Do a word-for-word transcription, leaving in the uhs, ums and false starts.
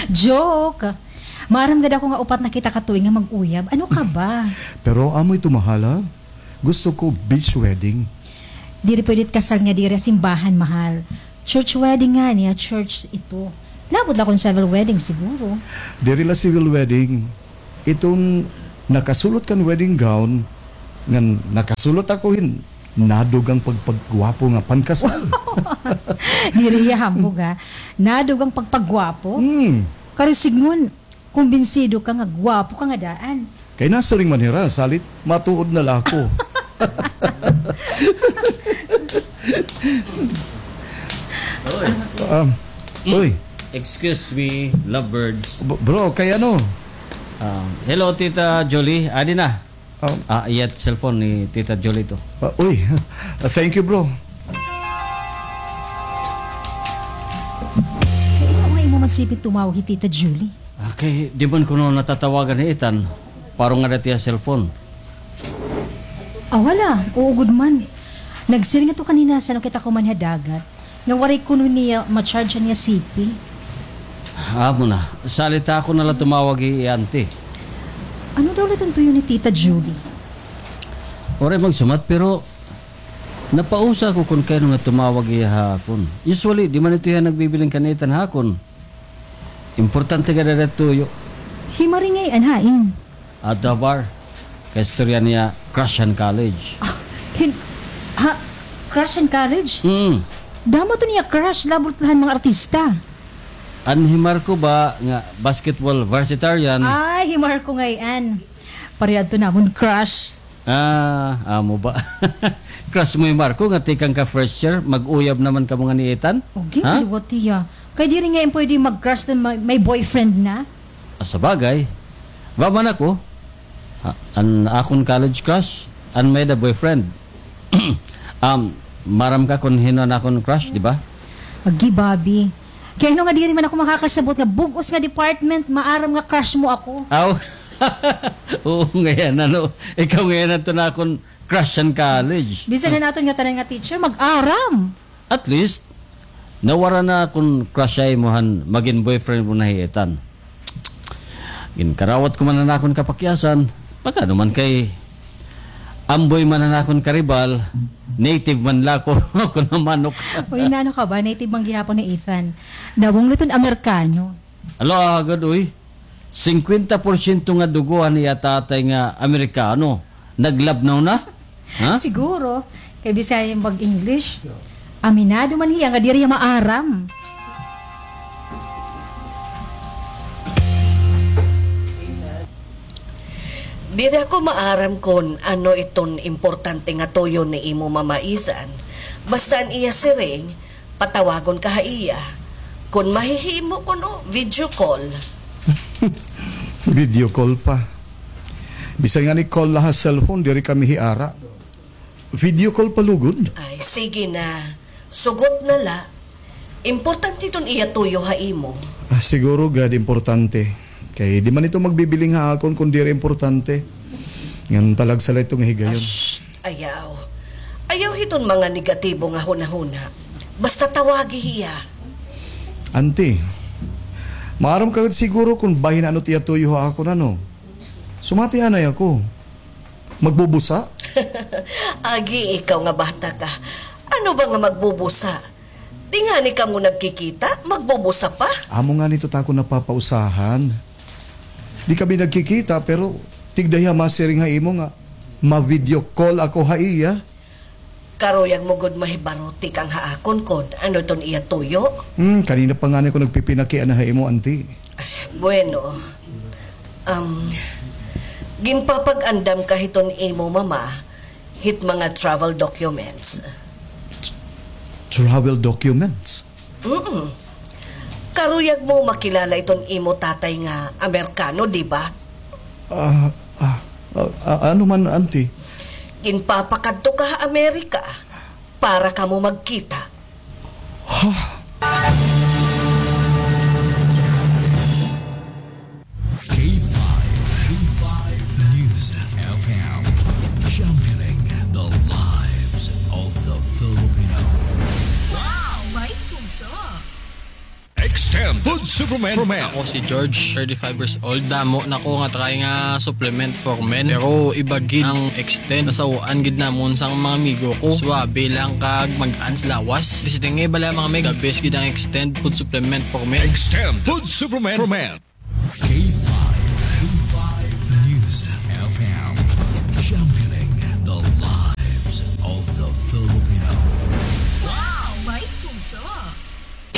Joke! Maaram gad ako nga upat na kita ka tuig nga mag-uyab. Ano ka ba? Pero amo ito, mahal, ha? Gusto ko beach wedding. Diri pwede it kasal nga diri ha simbahan, mahal. Church wedding ngani, ha church ito. Labot la kon civil wedding siguro. Diri la civil wedding. Iton nakasulot kan wedding gown, ngan nakasulot ako hin nadugang pagpagwapo nga pankasal. Diri hiya hambog, ha. Nadugang pagpagwapo? Hmm. Karon sidngon, kumbinsido ka nga gwapo ka nga daan. Kay nasiring man hira, salit matuod na la ako. Oy. Um, Mm. Oy. Excuse me, lovebirds. B-, bro, kay ano? Um, hello, Tita Julie. Adi na. Um, Ah, iya it cellphone ni Tita Julie to. Ah, uy. Ah, thank you, bro. Kay ano nga imo man sipin tumawag hi Tita Julie? Ah, kay di man kuno natatawagan hi Ethan. Paro ngada it iya cellphone. Ah, wala. Oo gud man. Nagsiring ito kanina, san-o kita kuman ha dagat, nga waray kuno niya ma-charge an iya C P. Amo na. Salit ako na la tumawag hi auntie. Ano daw la iton tuyo ni Tita Julie? Waray magsumat, pero napausa ako kon kay ano nga tumawag hiya ha akon. Usually, di man ito hiya nagbibiling kan Ethan ha akon. Importante gad ada it tuyo. Hi Maringay, an hain? Adto ha bar. Kaistorya niya, crush han college. Ah, hin-, ha? Crush han college? Mm. Damo to niya crush, labot la han mga artista. An hi Marco ba nga basketball varsitarian? Ay, hi Marco ngay-an. Pareho adto namon crush. Ah, amo ba? Crush mo hi Marco nga tikang ka first year, mag-uyab naman kamo ngani Ethan? Okay, ha? Liwat hiya. Kay diri ngay-an pwede mag-crush na may, may boyfriend na. Ah, sa bagay. Ba man ako, ah, an akon college crush, an may-ada boyfriend. Um, maaram ka kon hin-o an akon crush, di ba? Agi, Bobby. Kay ano nga diri man ako makakasabot nga bug-os nga department, maaram nga crush mo ako. Aw. Oo, ngay-an, ano? Ikaw ngay-an adto an akon crush han college. Bisan an aton ngatanan nga teacher, mag-aram. At least, nawara na akon crush ha imo han magin boyfriend mo na hi Ethan. Ginkarawat ko man an akon kapakyasan, pag-ano man kay amboy man an akon karibal, native man la ako, ako na manok. Uy, nano ka ba? Native man gihapon ni Ethan. Nawong la iton Amerikano. Hala, agad, uy. Singkwenta porsyento nga dugo han iya tatay nga Amerikano. Naglabnaw na? Ha? Siguro. Kay Bisaya mag-English. Aminado man hiya nga diri hiya maaram. Diri ako maaram kon ano iton importante nga tuyo ni imo mama, Ethan. Basta an iya siring, patawagon ka ha iya. Kon mahihimo kuno, video call. Video call pa. Bisan ngani call la ha cellphone, diri kami hiara. Video call pa lugod? Ay, sige na. Sugot na la. Importante iton iya tuyo ha imo. Ah, siguro gad importante. Kay di man ito magbibiling ha akon kon diri importante. Ngan talagsa la ito nga higayon. Shh! Ayaw. Ayaw hiton mga negatibo nga hunahuna. Basta tawagi hiya. Auntie, maaram ka gad siguro kon bahin ano it iya tuyo ha akon, ano? Sumati anay ako. Magbubusa? Agi, ikaw nga bata ka. Ano ba nga magbubusa? Di ngani kamo nagkikita, magbubusa pa? Amo ngani ito it akon napapausahan. Di kami nagkikita, pero tigda hiya masiring ha imo nga ma-video call ako ha iya. Karuyag mo gud mahibaro tikang ha akon kon ano iton iya tuyo? Hmm, kanina pa ngani ako nagpipinakiana ha imo, auntie. Bueno, um, ginpapag-andam ka hiton imo mama hit mga travel documents. Travel documents? Mm. Karuyag mo makilala iton imo tatay nga Amerikano, di ba? Ah, ah, ah, ah, ano man, auntie? Ginpapakadto ka ha Amerika para kamo magkita. Ha? K five, K five News F M, championing the lives of the Filipino. Wow, may puso! X Extend Food Supplement for Men. Ako si George, thirty-five years old. Damo na ko nga try nga supplement for men. Pero iba gid ang Extend. Nasaw-an gid namon sang mga amigo ko. Suabe lang kag mag-ans lawas. Visiting nga bala mga meg. The best gid ang Extend Food Supplement for Men. Extend Food Supplement for Men. K five, K five News F M, championing the lives of the Filipino. Wow, may puso.